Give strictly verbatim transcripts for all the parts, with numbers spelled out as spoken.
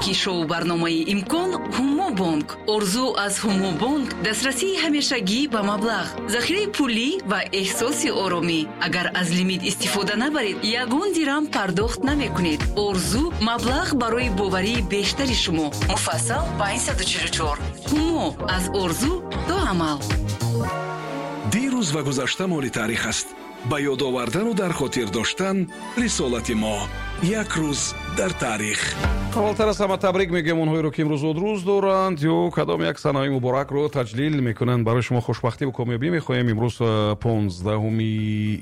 Шарики шоу барномаи «Имкон» Ҳумо Бонк. Орзу аз Ҳумо Бонк дастрасии ҳамешагӣ ба маблағ, захираи пулӣ ва эҳсоси оромӣ. Агар аз лимит истифода набаред, ягон дирам пардохт намекунед. Орзу маблағ барои боварии бештари шумо. Муфассал панҷсаду чилу чор. Ҳумо аз орзу то амал. Дирӯз ва гузашта моли таърих аст. Ба ёд овардану дар хотир доштан рисолати мо. Як рӯз дар таърих. Аввалтар аз ҳама табрик мегӯем онҳоеро, ки имрӯз зодрӯз доранд ё кадом як санаи муборакро таҷлил мекунанд. Барои шумо хушбахтиву комёбӣ мехоҳем. Имрӯз э, понздаҳуми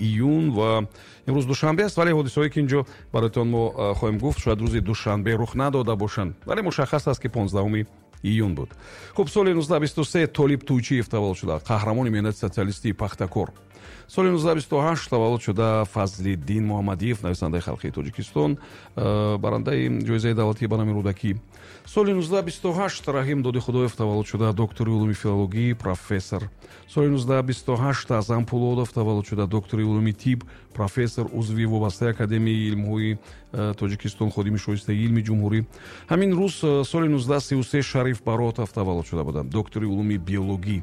июн ва имрӯз душанбе аст, вале ҳодисаҳое, ки инҷо бароятон мо э, хоҳем гуфт, шояд рӯзи душанбе рух надода бошанд, вале мушаххас аст, ки понздаҳуми июн буд. Хуб, соли нуздаҳ бисту се Толиб Туйчиев таваллуд шуда, қаҳрамони меҳнати социалистии Пахтакор. Соли нуздаҳ бисту ҳашт таваллуд шуда Фазлиддин Муҳаммадиев, нависандаи халқии Тоҷикистон, э, барандаи ҷоизаи давлатии ба номи Рӯдакӣ. Соли нуздаҳ бисту ҳашт Раҳим Додихудоев таваллуд шуда, доктори улуми филологӣ, профессор. Соли нуздаҳ бисту ҳашт Аъзам Пулодов таваллуд шуда, доктори улуми тиб, профессор, узви вобастаи Академияи илмҳои э, Тоҷикистон, ходими шоистаи илми ҷумҳурӣ. Ҳамин рӯз э, соли нуздаҳ сию се Шариф Баротов таваллуд шуда буданд, доктори улуми биологӣ.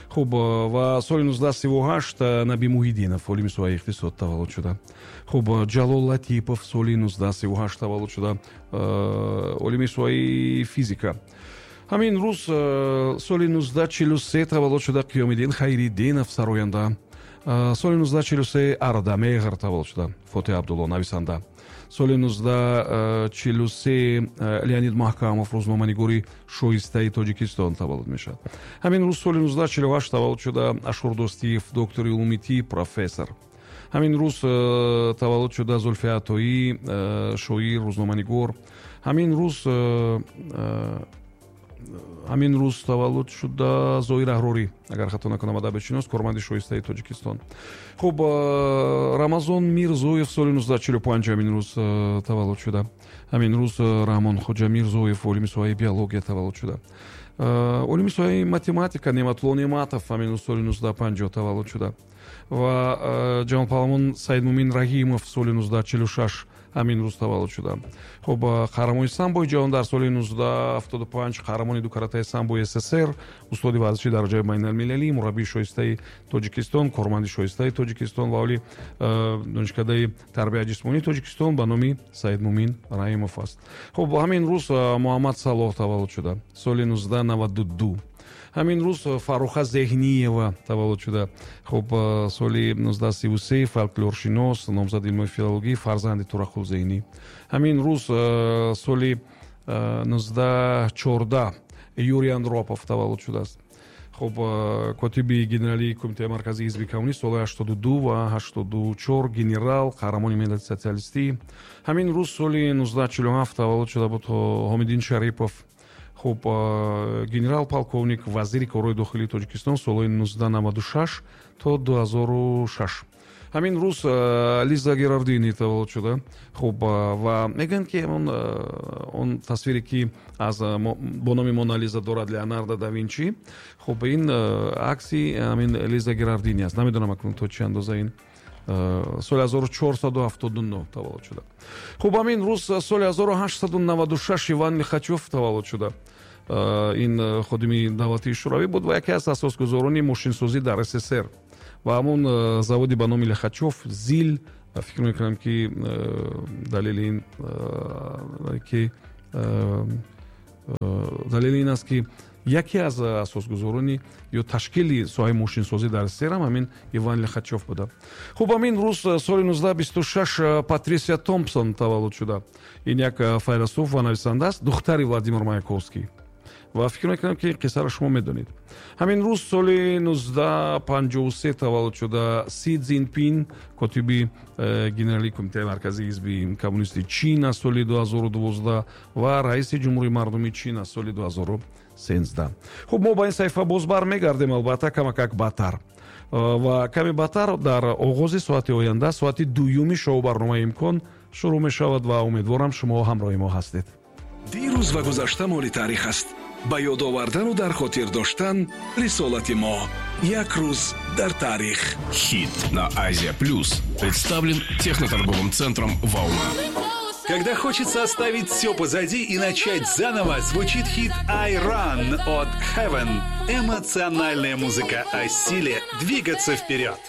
Хуб, э, ва соли нуздаҳ сиву ҳашт Наби Муҳиддинов, олими соҳаи иқтисод, таваллуд шуда. Хуб, Ҷалол Латипов соли нуздаҳ сиву ҳашт таваллуд шуда, олими соҳаи физика. Ҳамин рӯз соли нуздаҳ чилу се таваллуд шуда Қиёмиддин Хайриддинов, сароянда. Соли нуздаҳ чилу се Ардамеҳр таваллуд шуда, Фотеҳ Абдулло, нависанда. Соли нуздаҳ чилу се Леонид Маҳкамов, рӯзноманигори шоистаи Тоҷикистон, таваллуд мешавад. Ҳамин рӯз соли нуздаҳ чилу ҳашт таваллуд шуда Ашур Дӯстиев, доктори улуми тиб, профессор. Ҳамин рӯз таваллуд шуда Зулфия Атоӣ, шоир, рӯзноманигор. Ҳамин рӯз ҳамин рӯз таваллуд шуда Зоир Аҳрорӣ, агар хато накунам, адабиётшинос, корманди шоистаи Тоҷикистон. Хуб, Рамазон Мирзоев соли нуздаҳ чилу панҷ ҳамин рӯз таваллуд шуда. Ҳамин рӯз Раҳмонхоҷа Мирзоев, олими соҳаи биология, таваллуд шуда. Олими соҳаи математика Неъматулло Неъматов ҳамин рӯз соли нуздаҳ панҷоҳ таваллуд шуда ва ҷавонпаҳлавон Саидмумин Раҳимов соли нуздаҳ чилу шаш ҳамин рӯз таваллуд шуда. Хуб, қаҳрамони самбои ҷаҳон дар соли нуздаҳ ҳафтоду панҷ, қаҳрамони дукаратаи самбои С С С Р, устоди варзиши дараҷаи байналмилалӣ, мураббии шоистаи Тоҷикистон, корманди шоистаи Тоҷикистон ва оли Донишкадаи тарбияи ҷисмонии Тоҷикистон ба номи Саидмумин Раҳимов аст. Хуб, ҳамин рӯз Муҳаммад Салоҳ таваллуд шуда соли нуздаҳ наваду ду. Ҳамин рӯз Фарруха Зеҳниева таваллуд шуда. Хуб, соли нуздаҳ сиву се, фолклоршинос, номзади илмҳои филологӣ, фарзанди Турақул Зеҳнӣ. Ҳамин рӯз соли нуздаҳ чордаҳ Юрий Андропов таваллуд шудааст. Хуб, котиби генералии Кумитаи марказии ҳизби коммунист солҳои ҳаштоду ду ва ҳаштоду чор, генерал, қаҳрамони меҳнати социалистӣ. Ҳамин рӯз соли нуздаҳ чилу ҳафт таваллуд шуда буд Ҳомиддин Шарипов. Хуб, генерал полковник, вазири корҳои дохилии Тоҷикистон солҳои нуздаҳ наваду шаш то ду ҳазору шаш. Ҳамин рӯз Лиза Герардини таваллуд шуда. Хуб, ва мегӯянд, ки он он тасвире, ки аз бо номи Мона Лиза дорад Леонардо да Винчи, хуб, ин акси ҳамин Лиза Герардини аст. Намедонам акнун то чӣ андоза ин. Соли ҳазору чорсаду ҳафтоду нӯҳ таваллуд шуда. Хуб, ҳамин рӯз соли ҳазору ҳаштсаду наваду шаш Иван Лихачёв таваллуд шуда. Ин ходими давлатии шӯравӣ буд ва яке аз асосгузорони мошинсозӣ дар С С С Р ва ҳамон заводи ба номи Лихачёв, ЗИЛ. Фикр мекунам, ки далели ин ки далели ин аст, ки яке аз асосгузорони ё ташкили соҳаи мошинсозӣ дар С С С Р ҳам ҳамин Иван Лихачёв буда. Хуб, ҳамин рӯз соли нуздаҳ бисту шаш Патрисия Томпсон таваллуд шуда. Ин як файласуф ва нависанда аст, духтари Владимир Маяковский, ва фикр мекунам, ки қиссаро шумо медонед. Ҳамин рӯз соли нуздаҳ панҷоҳу се таваллуд шуда Си Цзинпин, котиби э, генералии Кумитаи марказии ҳизби коммунисти Чин аз соли ду ҳазору дувоздаҳ ва раиси Ҷумҳурии мардумии Чин аз соли ду ҳазору сенздаҳ. Хуб, мо ба ин саҳифа боз бармегардем, албатта, камакак баъдтар э, ва каме баъдтар дар оғози соати оянда. Соати дуюми шоу барномаи «Имкон» шурӯъ мешавад ва умедворам, шумо ҳамроҳи мо ҳастед. Дирӯз ва гузашта моли таърих аст. Ба ёд овардану дар хотир доштан рисолати мо. Як рӯз дар таърих. Хит на Азия Плюс представлен техноторговым центром «Волна». Когда хочется оставить все позади и начать заново, звучит хит I Run от Heaven. Эмоциональная музыка о силе двигаться вперед.